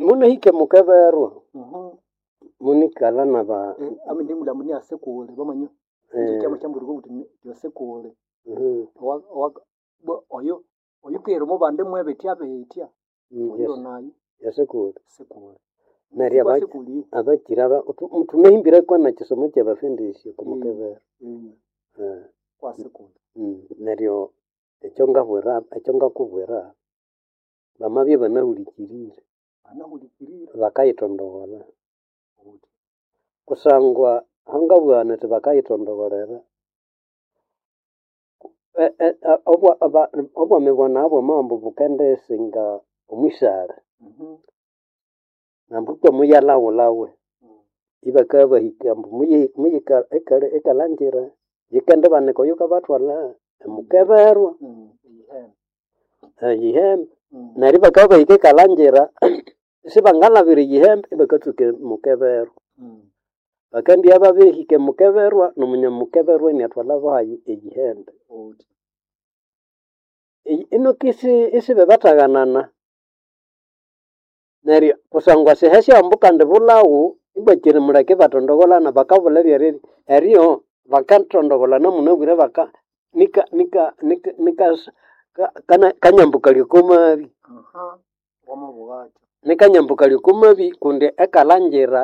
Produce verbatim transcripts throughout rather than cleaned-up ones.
Munahike mukeberwa Mhm. munikalha naba Eh, ame ndimulhambo ni asekule bamanya eh, kyama kyamburuka kuti yosekule mhm, owa owa bwa- oyo oyukira mubande mwebetya betya mm, oyo yes, nayo yasekule sekule neryo aba- sekuli abakira aba- tu- tunahimbira kwana kisomo kyabafundisya kumukebera Eh, kwa sekule mm, neryo ekyo ngabwira ekyo ngakubwira bamabya banahulikirire anahulikirira bakayithondogholha kusangwa hangabugha nithi bakayithondogholera E- e- e- obwa- aba- obwami bwa bwamambu bukendisinga omwisale nambu kwamuyalhaghulhawe ibakabahika ambu muyi- muyika ekale- ekalangira yikendibanika oyukabathwalha emukeberwa eyihembe neryo ibakabahika ekalangira isibangalhabira eyihembe ibakatsuka emukeberwa bakendibya babirihika emukeberwa nomunyamukeberwa iniathwalha bahayi eyihembe Eyi- inoki isi- isibebataghanana neryo kusangwa sihe syambu kandi bulhawu ibakiri muleke ibatondogholana bakabulha ebyeribya eryo bakathondogholana munabwire baka nika nika nika nika ka- kana- kanyambukalya okomabi wamabughatyo nikanyambukalya okomabi kundi ekalangira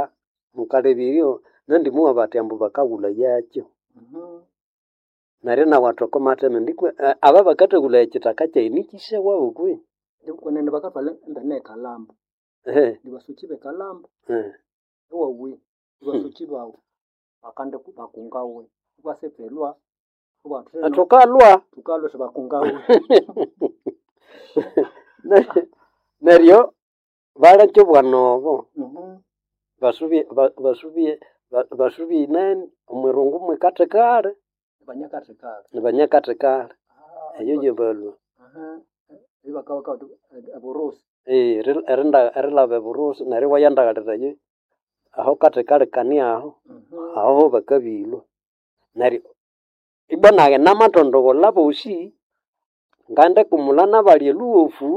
mukalebiryo nandi muwa bathi ambu bakaghulha yakyo neryo nawu athi okomatheme ndikwe eh, aba bakathahulhaya ekithaka kyayi nikyisewawu kwi kwenene bakathwalha embene ekalambo Ehe, nibasuki bekalambo eh. ewawe nibasuki bawu bakande bakungawe ibasepelwa ibatheno thukalwa tukalwa sibakungawe Ne- neryo balekya obwana obo Mhm. basubye ba- basubye ba- basubye inene omwirungu mwikathikali banyakathikali nibanyakathikali eyo gyebalwa ibakabaka eburusi Eh, eri- erinda- erilhaba eburusi neryo iwayandaghalirayo aho kathikali kani aho aho bakabilwa neryo ibwa nayi namathondogholha bosi ngandikumulha nabali elhuwofu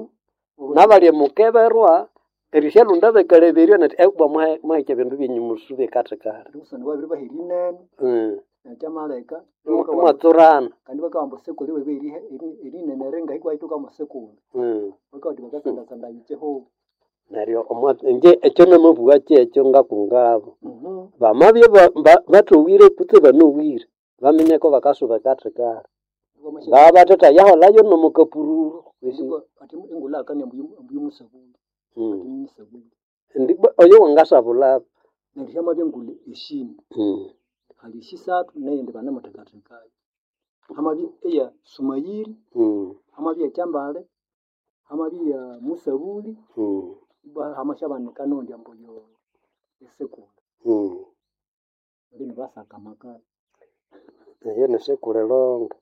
nabali emukeberwa erisyalhunda bakaleberya nethi ebwa muhike ebindu byenyu musubye kathikali ndikusana babiri bahera inene Mm. ekyamaleka Imwatsurana kandi bakabamba sekule webe erinene ringahi kwahituka musekule Mm. bakabati bakasandasanda yikihugo neryo omwa- inje ekyo namabugha kyekyo ngakungabo bamabya ba- ba- bathowire kutse banowire baminyeko bakasuba kathikali ngabathetha yaholayo nomukapururu kwisi ati engulha akani ambuyimusabuli Mm. atimusabuli Ndi- oyo wangasabulabo neryo hyamabya engulha eshini Mm. hali esisathu neyindi banamuthekathekayo hamabya eya sumayiri Mm. hamabya ekyambale hamabya eya musabuli Mm. hamasyabanika nondi ambu yo esekule Mm. lino basaka amakali eyo nisekule longa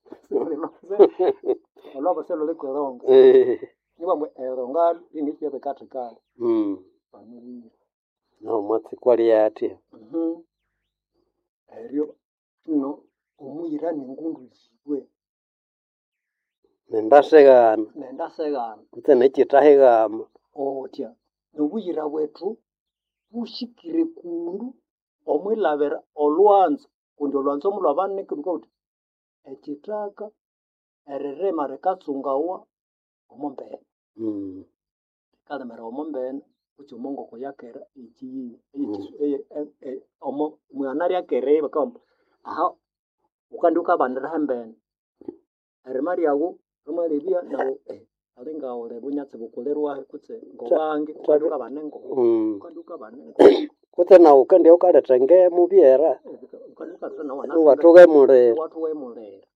olwabo selhulikwilonga Eh. nibambu eronga linisibyabikathikali Mm. banuwire nomwatsi kwali athya eryo no omuyira nengundu yiwe nendasighana nendaseghana kutse nekyithahighama otya nobuyira bwethu bushikire kundu omwilhabira olwanzo kundi olwanzo mulwabanika lhukabuthi ekithaka eririma rikatsungawa omo mbene Mm. rikalimira omo mbene kutse omo ngoko yakera ekiyi Mm. omo mwana ryakera bakabugha aha wukandi wukabanira hembene erima ryawu rimalebya nawu eh, ali ngawuli bunyatsi bukulirwahi kutse ngobange wukandi wukabana engoko Mm. wukandi wukabana engoko kutse nawu kandi wukaletha ngemu byera wukandi wukaletha nawu iwathughemulira iwathughemulira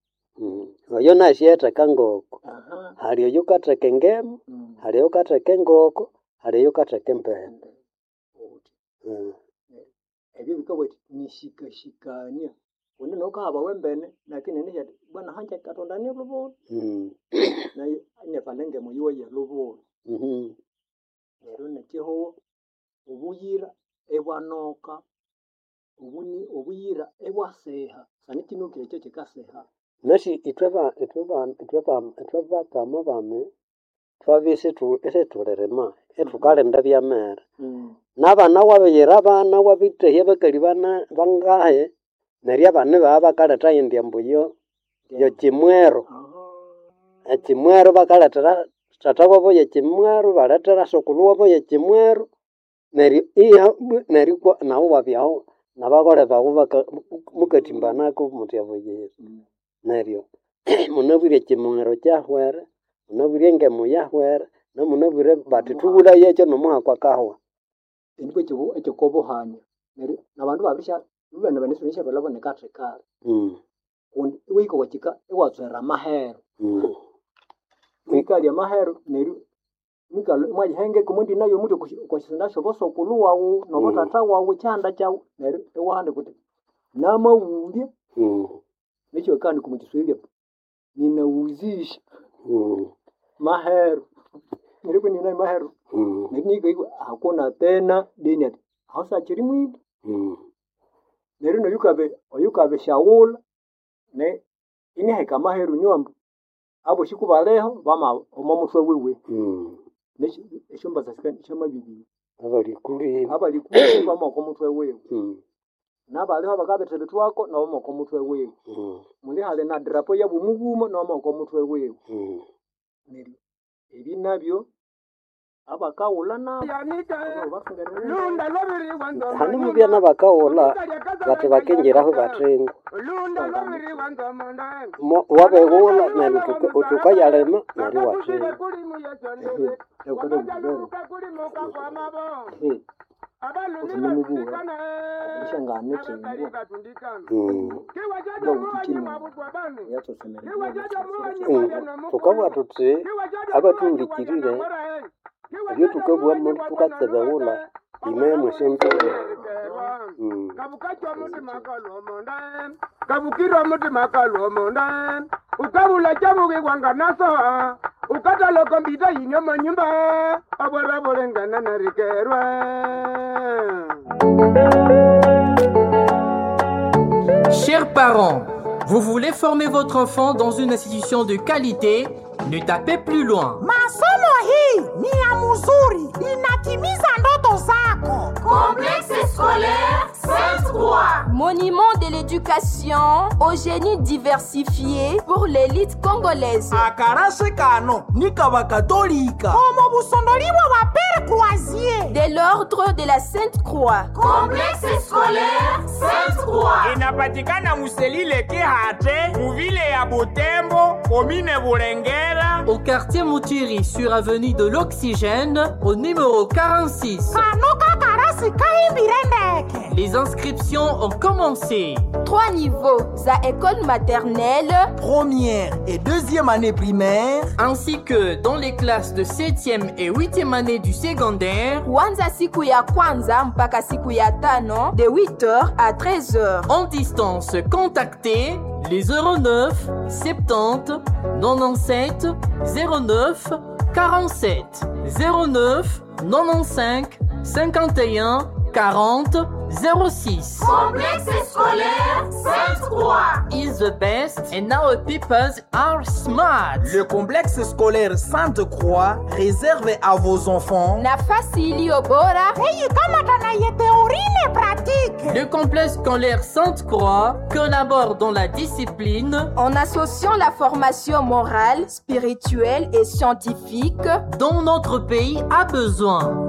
Mm. Oyo nasyetheka ngoko aha hali oyo wukatheka engemu mm. hali oyo wukatheka engoko hali oyo wukatheka empene Uthi, Mm. ebyo bikabugha ati nishikashikania kundi nokahaba wembene lakini nishati bwana hanje katonda ni lubula Mm. nayo inefana engemu yiwe yelubula Mhm. neryo nekihuho obuyira ibwanoka obuni obuyira ibwasiha sani kinukire ekyo kikasiha Nasi ithwe ba ithwe ba ithwe ba ithwe bakama bami thwabya isithu isithulirima Ithukalinda ebyamere. N'abana wabiyira abana wabithehya abakali bana bangahi neryo abana ibabya bakaletha eyindi ambu yo yekimwero. Ekimwero bakalethera tata wabo yekimwero, ibalethera sukulhu wabo yekimwero neryo iha neryo kwa nawu iwabyaho nabakole bawu baka mukathimbanaku muthi abuyira. Neryo munabwire ekimwero kyahwere, munabwire engemu yahwere, namunabwire bathi thughulhayekyo nomuhaka akahwa. Enikwa ekyokobuhanya neryo nabandu babisha ibabana banesibane nekathekali Mm. kundi iwahika okwakika iwatswera amahero Mm. mwikalya amahero neryo mwikalha imwayihengeka omwandina yomuthi okwasisenda syobosokulhu wawu nobothatha wawu ekyihanda kyawu neryo iwahandika wuthi namaghulya Mm. nekyo bakahandika omwa kiswahili ninauzisha Mm. mahero neryo kunina mahero Mm. neryo nikahika hakuna tena deni ati aho sakyiri mwibi Mm. neryo noyukabe oyukabe shaghulha ne iniheka amahero niwambu abosi kubaliho bama omo muthwe wiwe Mm. esyombasa syamabibiri Abalikuli. abalikuli bama oko muthwe wiwe Mm. nabaliho bakabithibithwako nabo bama oko muthwe wiwe Mm. muli hali na drapo yabumughuma nabo bama oko muthwe wiwe Mm. neryo ebi nabyo abakaghulha nabo Hane mubya nabakaghulha bathi bakingiraho bathinga. Mo wabighulha neryo uthuka- uthukayalima neryo iwathinga. uthunemubuwa obushangane Mm. yatsosemerera Mm. Thukabugha thuthi abathuhulikirire ebyothukabugha muli thukatsibighulha ime mwesyanzuro. Mm. Kabukirwa mutima kalwomonda ukabula chabukiwanga naso ukatala kompyuta yinyo manyumba abwera bulengana narikerwe. Chers parents, vous voulez former votre enfant dans une institution de qualité? Ne tapez plus loin. Masomo hii ni ya mzuri, inatimiza ndoto zako. Complexe scolaire Sainte-Croix. Monument de l'éducation au génie diversifié pour l'élite congolaise. Akarase kano ni kabakatolika Omo busondoliwa wa Père Croisier. De l'ordre de la Sainte-Croix. Complexe scolaire Sainte-Croix. Inapatikana muselile Kihate, muvile ya Butembo, komine Bulengera. Au quartier Moutiri, sur avenue de l'Oxygène, au numéro quarante-six. Kano kakarasi kahimbire ndeke. Les inscriptions ont commencé. Trois niveaux à école maternelle, première et deuxième année primaire, ainsi que dans les classes de septième et huitième année du secondaire, kuanza siku ya kwanza mpaka siku ya tano de huit heures à treize heures. En distance, contactez les zéro neuf soixante-dix quatre-vingt-dix-sept zéro neuf quarante-sept, zéro neuf quatre-vingt-quinze cinquante et un quarante zéro six. Complexe scolaire Sainte-Croix. Is the best and our peoples are smart. Le complexe scolaire Sainte-Croix réserve à vos enfants Nafasi iliyo bora Eyi kama tana ye théorie ne pratique. Le complexe scolaire Sainte-Croix collabore dans la discipline en associant la formation morale, spirituelle et scientifique dont notre pays a besoin.